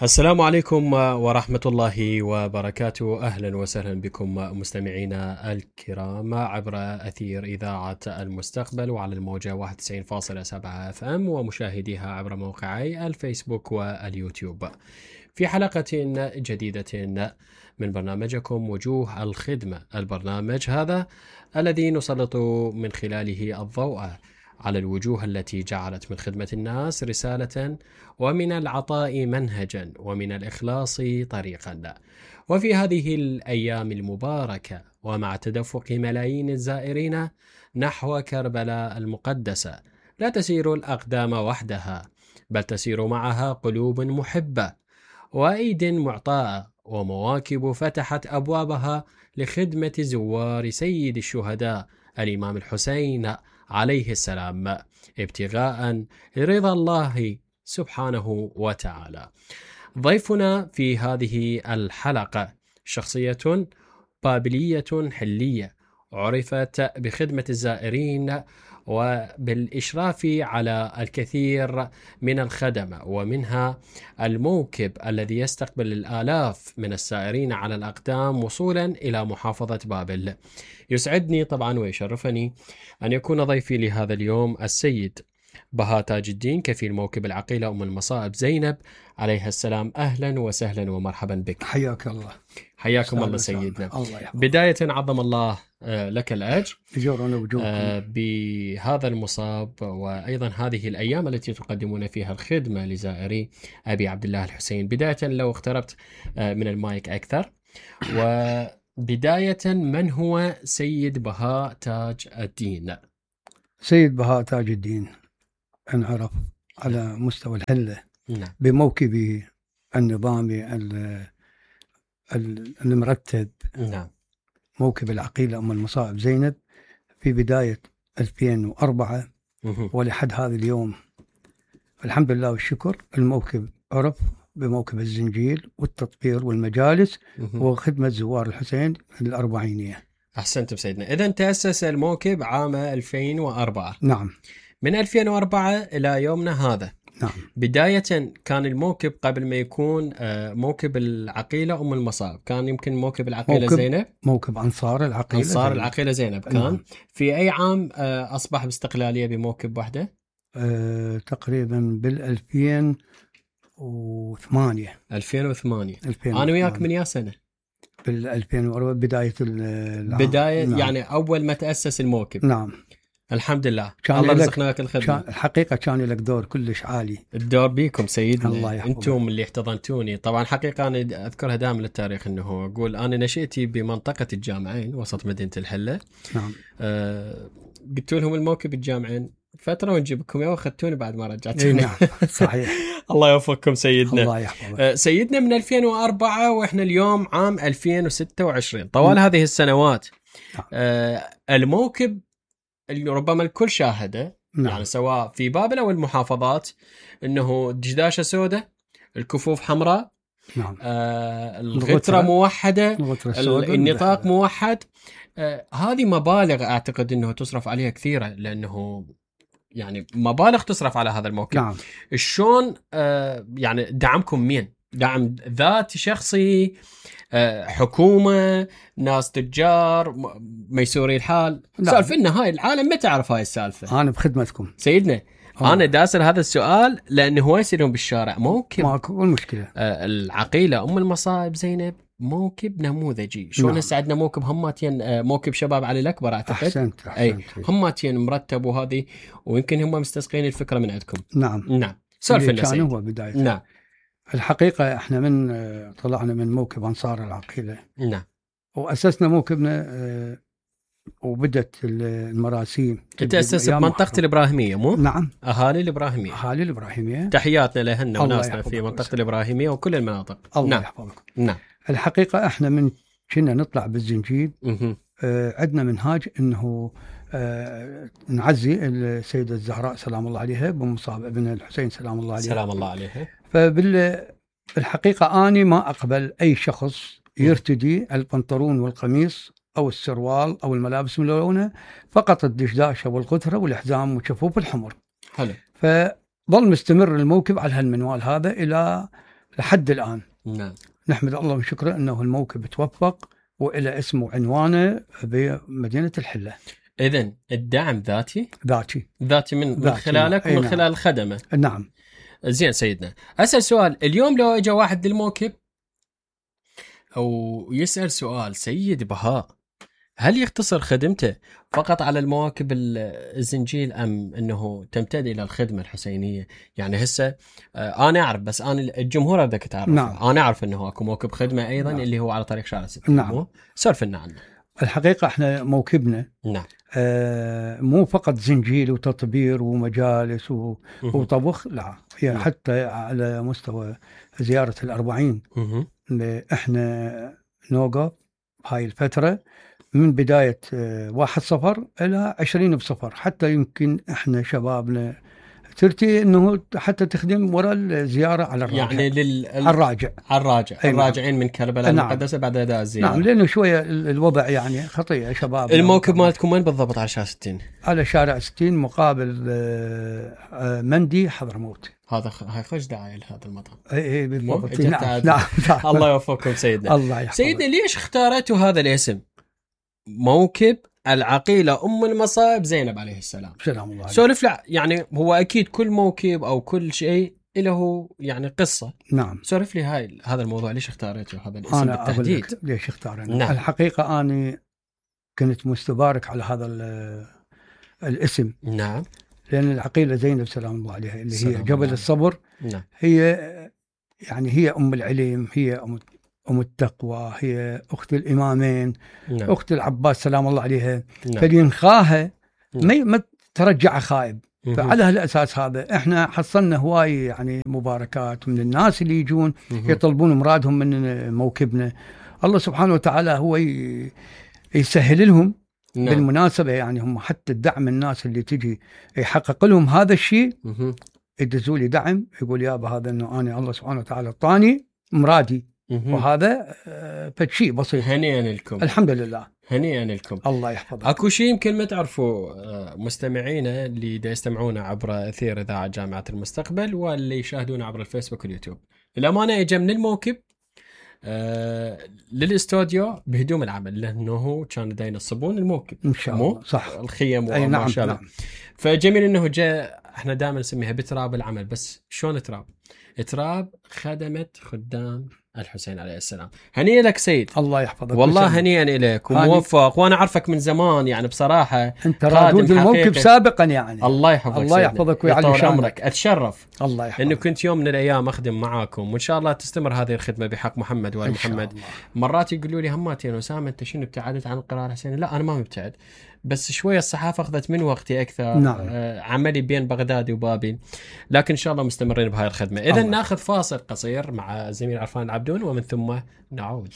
السلام عليكم ورحمة الله وبركاته. أهلا وسهلا بكم مستمعينا الكرام عبر أثير إذاعة المستقبل وعلى الموجة 91.7 FM ومشاهديها عبر موقعي الفيسبوك واليوتيوب في حلقة جديدة من برنامجكم وجوه الخدمة، البرنامج هذا الذي نسلط من خلاله الضوء على الوجوه التي جعلت من خدمة الناس رسالة، ومن العطاء منهجا، ومن الإخلاص طريقا. وفي هذه الأيام المباركة ومع تدفق ملايين الزائرين نحو كربلاء المقدسة، لا تسير الأقدام وحدها، بل تسير معها قلوب محبة وأيد معطاءة ومواكب فتحت أبوابها لخدمة زوار سيد الشهداء الإمام الحسين عليه السلام، ابتغاء رضا الله سبحانه وتعالى. ضيفنا في هذه الحلقة شخصية بابلية حلية عرفت بخدمة الزائرين وبالإشراف على الكثير من الخدمة، ومنها الموكب الذي يستقبل الآلاف من السائرين على الأقدام وصولا إلى محافظة بابل. يسعدني طبعا ويشرفني أن يكون ضيفي لهذا اليوم السيد بهاء تاج الدين، كفيل موكب العقيلة أم المصائب زينب عليها السلام. أهلا وسهلا ومرحبا بك. حياك الله. حياكم الله سيدنا. الله بداية عظم الله لك الأجر بهذا بهذا المصاب، وأيضا هذه الأيام التي تقدمون فيها الخدمة لزائري أبي عبد الله الحسين. بداية لو اقتربت من المايك أكثر، وبداية من هو سيد بهاء تاج الدين؟ سيد بهاء تاج الدين انعرف على مستوى الحلة بموكبه النظامي المرتب، موكب العقيلة أم المصائب زينب في بداية 2004 ولحد هذا اليوم. الحمد لله والشكر الموكب عرف بموكب الزنجيل والتطبير والمجالس وخدمة زوار الحسين الأربعينية. أحسنتم سيدنا. إذن تأسس الموكب عام 2004. نعم. من 2004 إلى يومنا هذا. نعم. بداية كان الموكب قبل ما يكون موكب العقيلة أم المصائب كان يمكن موكب العقيلة زينب، موكب أنصار العقيلة زينب كان. نعم. في أي عام أصبح باستقلالية بموكب وحده؟ تقريبا بال2008. 2008. أنا وياك من يا سنة؟ بال2004 بداية نعم. يعني أول ما تأسس الموكب. نعم. الحمد لله الله رزقناك الخدمة. الحقيقة كان لك دور كلش عالي. الدور بيكم سيدنا، أنتم اللي احتضنتوني. طبعا حقيقة أنا أذكرها دائما للتاريخ، أنه أقول أنا نشأتي بمنطقة الجامعين وسط مدينة الحلة. نعم. قلت لهم الموكب الجامعين فترة ونجيبكم، يا أخذتوني بعد ما رجعتوني. نعم صحيح. الله يوفقكم سيدنا. الله يحفظك. سيدنا من 2004 وإحنا اليوم عام 2026. طوال هذه السنوات الموكب ربما الكل شاهده. نعم. يعني سواء في بابل أو المحافظات، أنه دشداشة سوداء، الكفوف حمراء. نعم. الغترة موحدة، النطاق موحد. هذه مبالغ أعتقد أنه تصرف عليها كثيرة، لأنه يعني مبالغ تصرف على هذا الموكب. نعم. شلون يعني دعمكم مين؟ دعم ذاتي شخصي، حكومة، ناس تجار، ميسوري الحال؟ سالفة إن هاي العالم ما تعرف هاي السالفة. أنا بخدمتكم سيدنا. أنا داسر هذا السؤال لأنه هو يصيرون بالشارع. موكب ماكو المشكلة. العقيلة أم المصائب زينب موكب نموذجي. شلون هسه عندنا موكب هماتين، موكب شباب علي الأكبر أعتقد. أحسنت. أي هماتين مرتب، وهذه ويمكن هم مستسقين الفكرة من عندكم. نعم. سالفة كان هو بداية. نعم. الحقيقة احنا من طلعنا من موكب أنصار العقيلة. نعم. وأسسنا موكبنا وبدت المراسيم. تأسس بمنطقة الإبراهيمية مو؟ نعم. أهالي الإبراهيمية. تحياتنا لهن وناسنا في منطقة الإبراهيمية وكل المناطق. الله نعم. يحفظك. نعم. الحقيقة احنا من كنا نطلع بالزنجيل عندنا منهاج انه نعزي السيدة الزهراء سلام الله عليها بمصاب ابن الحسين سلام الله عليه. سلام الله عليها. فبالحقيقة أنا ما أقبل أي شخص يرتدي البنطلون والقميص أو السروال أو الملابس الملونة، فقط الدشداشة والغترة والحزام والشفوف الحمر. حلو. فظل مستمر الموكب على هالمنوال هذا إلى لحد الآن. نعم. نحمد الله ونشكره أنه الموكب توفق وإلى اسمه وعنوانه بمدينة الحلة. إذن الدعم ذاتي من خلالك ومن خلال الخدمة. نعم. زين سيدنا، أسأل سؤال. اليوم لو اجى واحد للموكب أو يسأل سؤال، سيد بهاء هل يقتصر خدمته فقط على المواكب الزنجيل أم أنه تمتد إلى الخدمة الحسينية؟ يعني هسه أنا أعرف، بس أنا الجمهور بدك تعرف. نعم. أنا أعرف أنه أكو موكب خدمة أيضا. نعم. اللي هو على طريق شارع 6. نعم. سولف لنا عنه. الحقيقة احنا موكبنا نعم مو فقط زنجيل وتطبير ومجالس وطبخ، لا، يعني حتى على مستوى زيارة الأربعين احنا نوقف هاي الفترة من بداية 1 صفر إلى 20 بصفر، حتى يمكن احنا شبابنا ترتي انه حتى تخدم وراء الزياره على الراجع، يعني الراجع الراجعين من كربلاء المقدسه بعد اداء الزياره. نعم، لانه شويه الوضع يعني خطير شباب. الموكب مالتكم وين بالضبط؟ على شارع 60. على شارع 60 مقابل مندي حضرموت. هاي خوش دعايه لهذا المطعم. اي بالضبط. نعم. الله يوفقكم سيدنا. الله يحفظك. سيدنا ليش اختارتوا هذا الاسم موكب العقيلة أم المصائب زينب عليه السلام؟ سلام الله عليه. سولف لا، يعني هو أكيد كل موكب أو كل شيء له يعني قصة. نعم. سولف لي هذا الموضوع، ليش اختارته هذا الاسم أنا بالتحديد؟ أقول لك ليش اختارنا. نعم. الحقيقة أنا كنت مستبارك على هذا الاسم. نعم. لأن العقيلة زينب سلام الله عليها اللي هي جبل الصبر. نعم. هي يعني هي أم العلم، هي أم التقوى، هي أخت الإمامين. نعم. أخت العباس سلام الله عليها. نعم. فلينخاها ما ترجع خائب. فعلى هالأساس هذا احنا حصلنا هواي يعني مباركات من الناس اللي يجون يطلبون مرادهم من موكبنا. الله سبحانه وتعالى هو يسهل لهم. نعم. بالمناسبة يعني هم حتى الدعم، الناس اللي تجي يحقق لهم هذا الشيء يدزوا لي دعم، يقول يابا هذا انه انا الله سبحانه وتعالى اعطاني مرادي، وهذا فشيء بسيط. هنيئا لكم. الحمد لله. هنيئا لكم. الله يحفظك. اكو شيء يمكن ما تعرفوا مستمعينا اللي دا يستمعونا عبر اثير اذاعه جامعه المستقبل واللي يشاهدونا عبر الفيسبوك واليوتيوب. الامانه اجى من الموكب للاستوديو بهدوم العمل، لانه كانوا دا ينصبون الموكب ان شاء الله. صح. الخيم وما نعم شاء الله. نعم. فجميل انه جاء. احنا دائما نسميها بتراب العمل، بس شلون تراب خدمه خدام الحسين عليه السلام. هنيئا لك سيد. الله يحفظك. والله هنيئا لك وموفق، وانا اعرفك من زمان يعني بصراحه انت رادود الموكب سابقا يعني. الله يحفظك. الله يحفظك ويعلي شانك. اتشرف الله يحفظك انه كنت يوم من الايام اخدم معاكم، وان شاء الله تستمر هذه الخدمه بحق محمد وال محمد. مرات يقولوا لي هماتين وسام انت شنو ابتعدت عن القراءه الحسينيه؟ لا انا ما مبتعد، بس شويه الصحافه اخذت من وقتي اكثر. نعم. عملي بين بغداد وبابل، لكن ان شاء الله مستمرين بهاي الخدمه. اذا ناخذ فاصل قصير مع زميل عرفان العبدون ومن ثم نعود.